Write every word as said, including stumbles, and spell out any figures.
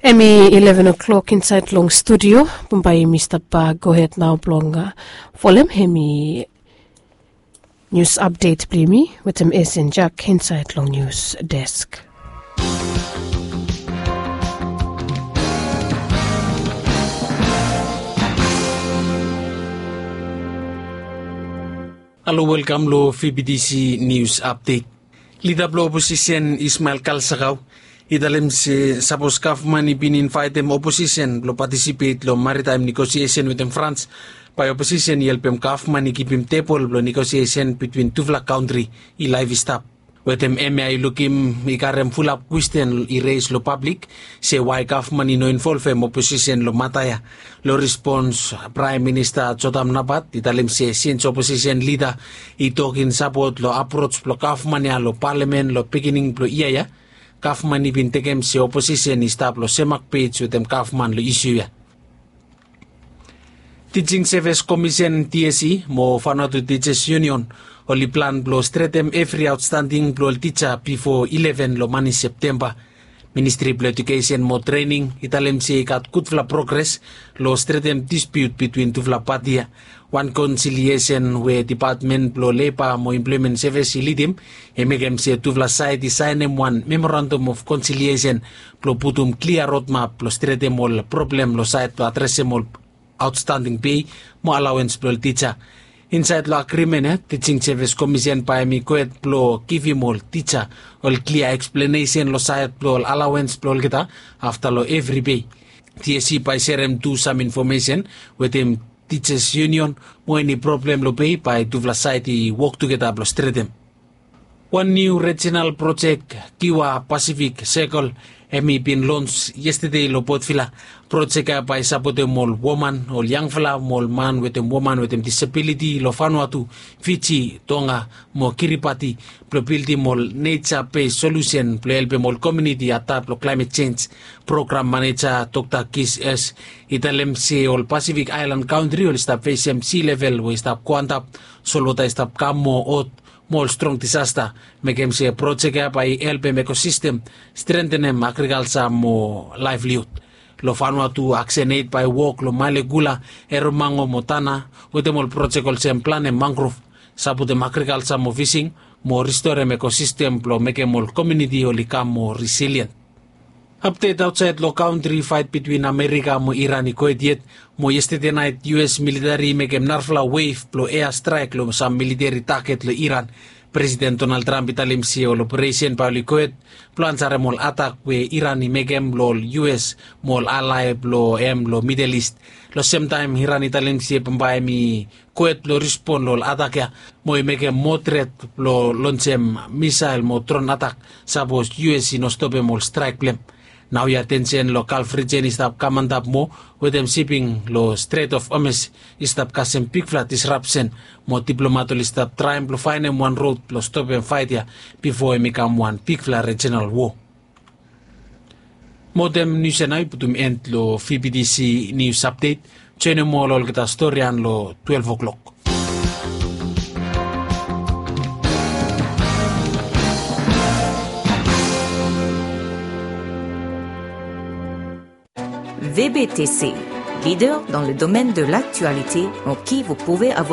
Em i eleven o'clock insait long studio. Bambae yumi stap gohed nao blong folem em i nius apdet blong yumi wetem Esen Jak insait long nius desk. Halo, welkam long V B T C nius apdet. Lida blong oposisen Ismael Kalsakau i talem se sapos gavman i bin invaetem oposisen blong patisipet long maritaem negosiesen wetem Frans, bae oposisen i helpem gavman i kipim tebol blong negosiesen bitwin tufala kantri i laef i stap. Wetem hemia i lukim i karem fulap kwesten i reis long pablik se wae gavman i no involvem oposisen long mata ya. Long respons, Praem Minista Jotam Napat i talem se sins oposisen lida i tok in sapot long aproj blong gavman ya long palamen long beginning blong yia ya, gavman i bin tekem se oposisen i stap long semak pej wetem gavman long isiu ya. Teaching Service Commission, T S C, mo Vanuatu Teachers Union oli plan blong stretem evri aotstanding blong ol tija bifo eleven long mani Septemba. Ministri blong Ejukesen mo Trening i talem se i gat gudfala progres long stretem dispiut bitwin tufala pati ya. Wan konsiliesen we Depatmen blong Leba mo Emploemen Sevis i lidim i mekem se tufala saed i saenem wan memorandam of konsiliesen blong putum klia rodmap blong stretem ol problem long saed blong adresem ol aotstanding pei mo alawens blong ol tija. Insaed long agrimen ya, Teaching Service Commission bae hem i gohed blong givim ol tija ol klia eksplenesen long saed blong ol alawens blong olgeta afta long evri pei. T S C bae serem tu sam infomesen wetem Teachers Union mo eni problem long pei bae tufala saed i wok tugeta blong stretem. Wan niu rejinal projek, Kiwa Pacific Circle, hem i bin lons yestede long Port Vila. Projek ya bae sapotem ol woman, ol yangfala mo ol man wetem woman wetem disabiliti long Vanuatu, Fiji, Tonga mo Kiribati blong bildim ol neja bes solusen blong helpem ol komuniti adap long klaemet jenj. Program maneja Dokta Kis S i talem se ol Pasifik aelan kantri oli stap fesem si level we i stap go antap, solwota i stap kam moa hot mo ol strong disasta. Mekem se projek ya bae i helpem ekosistem, strentenem agrikalja mo laevliud. Long Vanuatu, Aksen Eit bae i wok long Malekula, Eromango mo Tana wetem ol projek olsem planem mangrov, sapotem agrikalja mo fising mo ristorem ekosistem blong mekem ol komuniti oli kam moa risilien. Apdet aotsaed long kantri, faet bitwin Amerika mo Iran i gohed yet, mo yestede naet U S militeri i mekem narafala wef blong ea straek long sam militeri taget long Iran. Presiden Donald Trump i talem se ol operesen bae oli gohed blong ansarem ol atak we Iran i mekem long ol U S mo ol alae blong hem long Midel Ist. Long semtaem Iran i talem se bambae hem i gohed blong rispon long ol atak ya, mo i mekem moa tret blong lonsem misael mo dron atak sapos U S i no stopem ol straek blong hem. Naoia tensen long Galf rijen i stap kam antap moa, wetem siping long Strait of Hormuz i stap kasem bigfala disrapsen, mo diplomat oli stap traem blong faenem wan rod blong stopem faet ya bifo hem i kam wan bigfala rejinal wo. Mo dem nius ya nao i putum en long V B T C nius apdet. Joenem ol olgeta storian long twelve o'clock. V B T C, leader dans le domaine de l'actualité, en qui vous pouvez avoir